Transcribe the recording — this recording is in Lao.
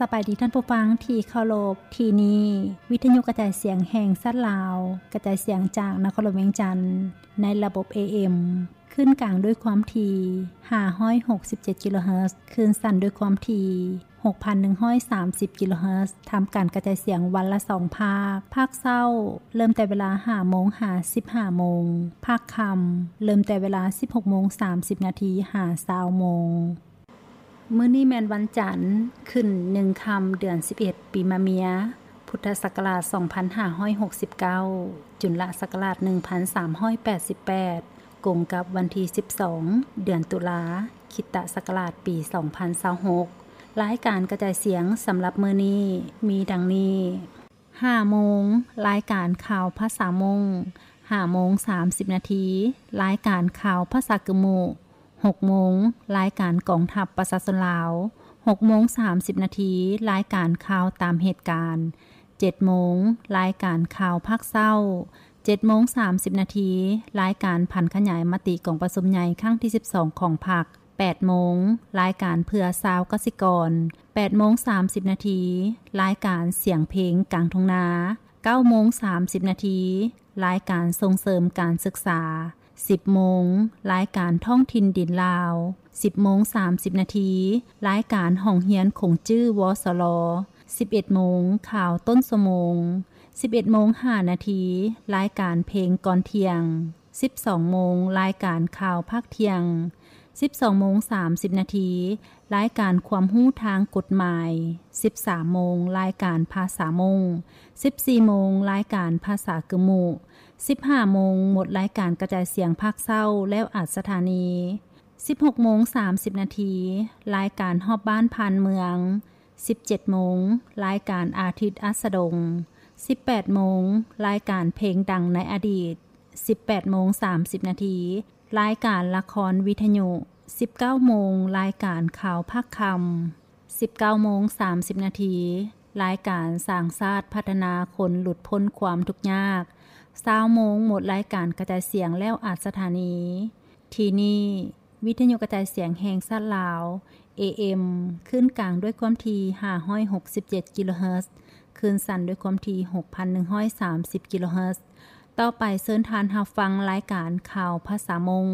ສະບາຍດີທ່ານຜູ້ຟັງທີ່ເຄົາລົບ, ທີ່ນີ້ວິທະຍຸກະຈາຍສຽງແຫ່ງຊາດລາວ, ກະຈາຍສຽງຈາກນະຄອນຫຼວງວຽງຈັນ ໃນລະບົບ ເອເອັມ ຄື້ນກາງດ້ວຍຄວາມຖີ່ ຫ້າຮ້ອຍຫົກສິບເຈັດ ກິໂລເຮີດ, ຄື້ນສັ້ນດ້ວຍຄວາມຖີ່ ຫົກພັນໜຶ່ງຮ້ອຍສາມສິບ ກິໂລເຮີດ, ທຳການກະຈາຍສຽງວັນລະສອງພາກ. ພາກເຊົ້າເລີ່ມແຕ່ເວລາ ຫ້າໂມງ ຫາ ສິບຫ້າໂມງ, ພາກຄ່ຳເລີ່ມແຕ່ເວລາ ສິບຫົກໂມງ ສາມສິບນາທີ ຫາ ຊາວໂມງ. ມື້ນີ້ແມ່ນວັນຈັນ, ຂຶ້ນໜຶ່ງຄ່ຳ ເດືອນສິບເອັດ ປີມະເມຍ, ພຸດທະສັກກະລາດ ສອງພັນຫ້າຮ້ອຍຫົກສິບເກົ້າ, ຈຸນລະສັກກະລາດ ໜຶ່ງພັນສາມຮ້ອຍແປດສິບແປດ, ກົງກັບວັນທີ ສິບສອງ ເດືອນຕຸລາ, ຄຣິສຕະສັກກະລາດ ປີສອງພັນຊາວຫົກ. ລາຍການກະຈາຍສຽງສຳລັບມື້ນີ້ມີດັ່ງນີ້: ຫ້າໂມງ, ລາຍການຂ່າວພາສາມົ້ງ, ຫ້າໂມງ ສາມສິບນາທີ, ລາຍການຂ່າວພາສາກຶມມຸ, ຫົກໂມງ, ລາຍການກອງທັບປະຊາຊົນລາວ, ຫົກໂມງ ສາມສິບນາທີ, ລາຍການຂ່າວຕາມເຫດການ, ເຈັດໂມງ, ລາຍການຂ່າວພາກເຊົ້າ, ເຈັດໂມງ ສາມສິບນາທີ, ລາຍການຜັນຂະຫຍາຍມະຕິກອງປະຊຸມໃຫຍ່ຄັ້ງທີ ສິບສອງ ຂອງພັກ, ແປດໂມງ, ລາຍການເພື່ອຊາວກະສິກອນ, ແປດໂມງ ສາມສິບນາທີ, ລາຍການສຽງເພງກາງທົ່ງນາ, ເກົ້າໂມງ ສາມສິບນາທີ, ລາຍການສົ່ງເສີມການສຶກສາ, ສິບໂມງ, ລາຍການທ້ອງຖິ່ນດິນລາວ, ສິບໂມງ ສາມສິບນາທີ, ລາຍການຫ້ອງຮຽນຂົງຈື່ ວສລ, ສິບເອັດໂມງ, ຂ່າວຕົ້ນຊົ່ວໂມງ, ສິບເອັດໂມງ ຫ້ານາທີ, ລາຍການເພງກ່ອນທ່ຽງ, ສິບສອງໂມງ, ລາຍການຂ່າວພາກທ່ຽງ, ສິບສອງໂມງ ສາມສິບນາທີ, ລາຍການຄວາມຮູ້ທາງກົດໝາຍ, ສິບສາມໂມງ, ລາຍການພາສາມົ້ງ, ສິບສີ່ໂມງ, ລາຍການພາສາກຶມມຸ, ສິບຫ້າໂມງ, ໝົດລາຍການກະຈາຍສຽງພາກເຊົ້າແລ້ວອັດສະຖານີ, ສິບຫົກໂມງ ສາມສິບນາທີ, ລາຍການຮອບບ້ານຜ່ານເມືອງ, ສິບເຈັດໂມງ, ລາຍການອາທິດອັດສະດົງ, ສິບແປດໂມງ, ລາຍການເພງດັງໃນອະດີດ, ສິບແປດໂມງ ສາມສິບນາທີ, ລາຍການລະຄອນວິທະຍຸ, ສິບເກົ້າໂມງ, ລາຍການຂ່າວພາກຄ່ຳ, ສິບເກົ້າໂມງ ສາມສິບນາທີ, ລາຍການສ້າງຊາດພັດທະນາຄົນຫຼຸດພົ້ນຄວາມທຸກຍາກ, ຊາວໂມງ, ໝົດລາຍການກະຈາຍສຽງແລ້ວອັດສະຖານີ. ທີ່ນີ້ ວິທະຍຸກະຈາຍສຽງແຫ່ງຊາດລາວ, ເອເອັມ, ຄື້ນກາງດ້ວຍຄວາມຖີ່ ຫ້າຮ້ອຍຫົກສິບເຈັດ ກິໂລເຮີດ, ຄື້ນສັ້ນດ້ວຍຄວາມຖີ່ ຫົກພັນໜຶ່ງຮ້ອຍສາມສິບ ກິໂລເຮີດ. ຕໍ່ໄປເຊີນທ່ານຮັບຟັງລາຍການຂ່າວພາສາມົ້ງ.